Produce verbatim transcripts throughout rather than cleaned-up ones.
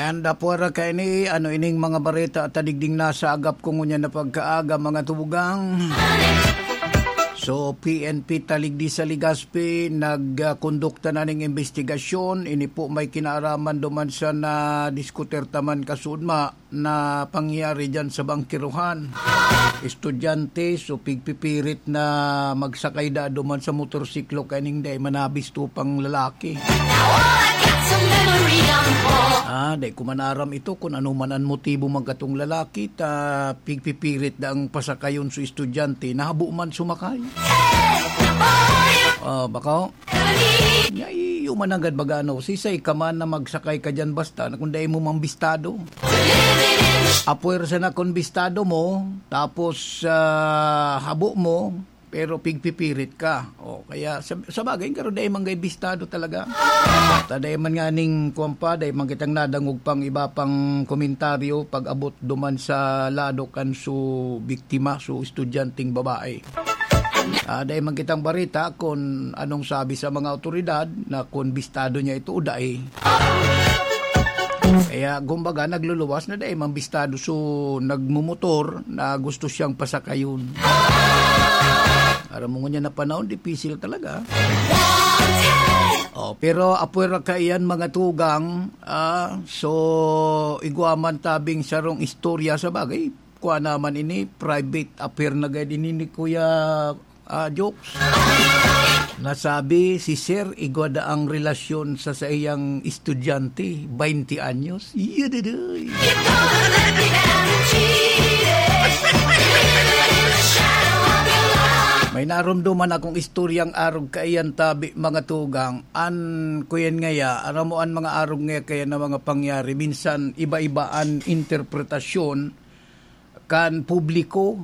And, ah, puwera kaini, ano ining mga bareta at tadigding nasa agap ko ngunyan na pagkaaga, mga tugang? So, P N P Taligdi sa Legazpi, nagkondukta na ning imbestigasyon. Ini po may kinaaraman duman sa nadiskutir taman kasudma na pangyayari dyan sa bangkiruhan. Estudyante, so pigpipirit na magsakay da duman sa motorsiklo kaning dai manabisto pang lalaki. Ah, dai ko man aram ito kung ano man an motibo man katong lalaki ta pigpipirit da ang pasakayon su estudyante, nahabo man sumakay. Ah, baka, nya, iyo man nanggad baga, ano, sisay ka man na magsakay ka diyan basta na kung dai mo man bistado. Apwersa na kung bistado mo, tapos, ah, habo mo, pero pigpipirit ka. O, kaya sa, sa bagay, garo dai man gay bistado talaga. Ta dai man nga ning kuwan pa, dai man kitang nadangog pang iba pang komentaryo pag-abot duman sa lado kan su biktima, su estudyanteng babae. Ah, dai man kitang bareta kun anong sabi sa mga awtoridad na kun bistado niya ito o dai. Kaya, kumbaga, nagluluwas na dai man bistado su nagmomotor na gusto siyang pasakayon. Aram mo ngunyan na panahon, dipisil talaga. Oh, pero apwera kaiyan, mga tugang, ah, so, igwa man tabing sarong istorya sa bagay. Kua naman ini, private affair na gayud ini ni Kuya, ah, Jokes. Nasabi si Sir, igwa da ang relasyon sa saiyang estudyante, baynte anyos. Yadaday! May narumduman akong istoryang arog kaiyan tabi, mga tugang. An kuyan ngaya, aram mo an mga arog ngaya kaya na mga pangyari. Minsan, iba-iba an interpretasyon kan publiko.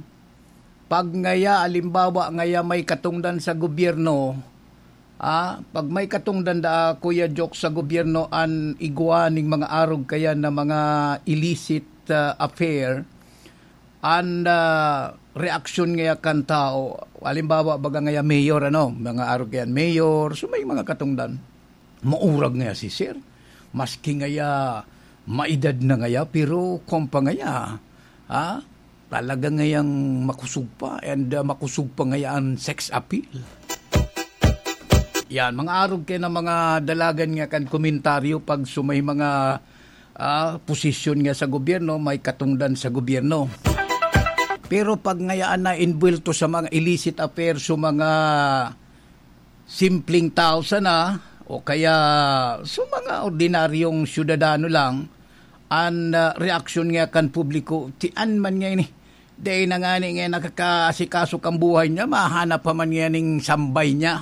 Pag ngaya, alimbawa, ngaya may katungdan sa gobyerno, ah, pag may katungdan da, Kuya Jokes, sa gobyerno, an igwa ning mga arog kaya na mga illicit, ah, affair, an, ah, reaksyon ngaya kan tao, alimbawa, baga ngaya mayor, ano, mga arog yan, mayor, so may mga katungdan. Maurag ngaya si Sir. Maski ngaya maedad na ngaya, pero kwan pa ngaya, ha? Talaga ngayang makusog pa, and, ah, makusog pa ngaya an sex appeal. Yan, mga arog kaya na mga dalagan nga kan komentaryo pag sumay mga, ah, posisyon nga sa gobyerno, may katungdan sa gobyerno. Pero pag ngayaan na inbuwelto sa mga illicit affairs, sa mga simpleng tao sana, o kaya sa mga ordinaryong syudadano lang, an, ah, reaksyon nga kan publiko, tian man nga ini. Dai na ngani nga nakakaasikaso kan buhay niya, mahanap pa man nga ning sambay niya.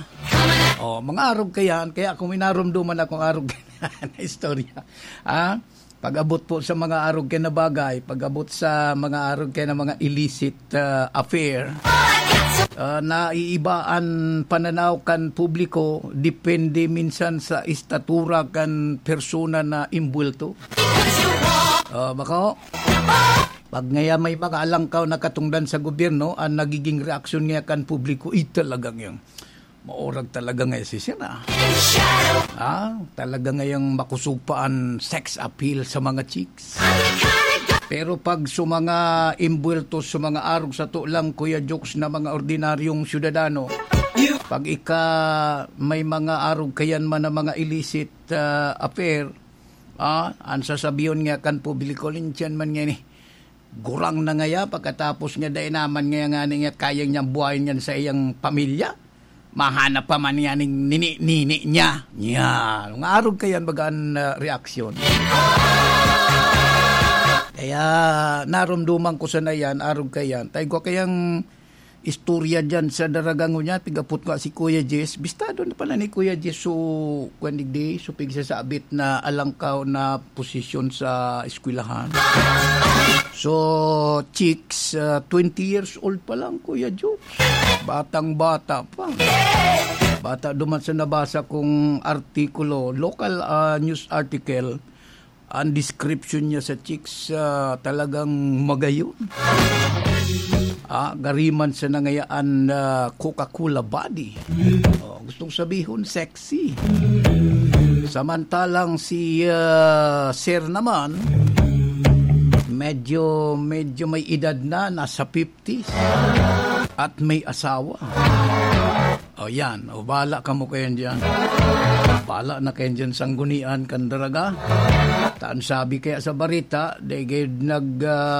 Oh, mga arog kayan, kaya kung minarumduman akong arog na istorya, ah, pag-abot po sa mga arog kaya na bagay, pag-abot sa mga arog kaya na mga illicit, ah, affair, ah, naiiba an pananaw kan publiko, depende minsan sa estatura kan persona na imbuwelto. Ah, bako, pag ngaya may mga alangkaw na katungdan sa gobyerno, ang nagiging reaksyon ngaya kan publiko, "Ay, talagang yan. Maurag talaga ngaya si Sir, ah. Ah, talaga ngayang makusog pa an sex appeal sa mga chicks." Pero pag sa mga imbuwelto sa mga arog, sato lang, Kuya Jokes, na mga ordinaryong syudadano, pag ika may mga arog kayan man na mga illicit, ah, affair, ah, an sasabihon nga kan publiko, "Lintian man ngani, gurang na ngaya, pagkatapos nga dai naman ngaya ngani nga kaya niyang buhayon yan sa iyang pamilya, mahanap pa man ngani ning nini-nini niya." Yan. Mga arog kayan, baga an, ah, reaksyon. Kaya narumduman ko sana yan, arog kayan. Tayo ko kayang istorya diyan sa Daraga ngunyan, pigapot nga si Kuya Jess. Bistado na pala ni Kuya Jess, so, kwan digdi, so, pigsasabit na alangkaw na posisyon sa eskwelahan. So, chicks, ah, twenty years old pa lang, Kuya Jokes. Batang-bata pa. Bata duman sa nabasa kong artikulo, local, ah, news article, ang description niya sa chicks, ah, talagang magayon. Ah, gariman sa nangayaan na Coca-Cola body. Oh, gustong sabihon, sexy. Samantalang si, ah, Sir naman, medyo, medyo may edad na, nasa fifties, at may asawa. O yan, o bala kamo kayan diyan. Bala na kayan diyan, sanggunian kan daraga. Taan sabi kaya sa barita, dai gayud nag, ah,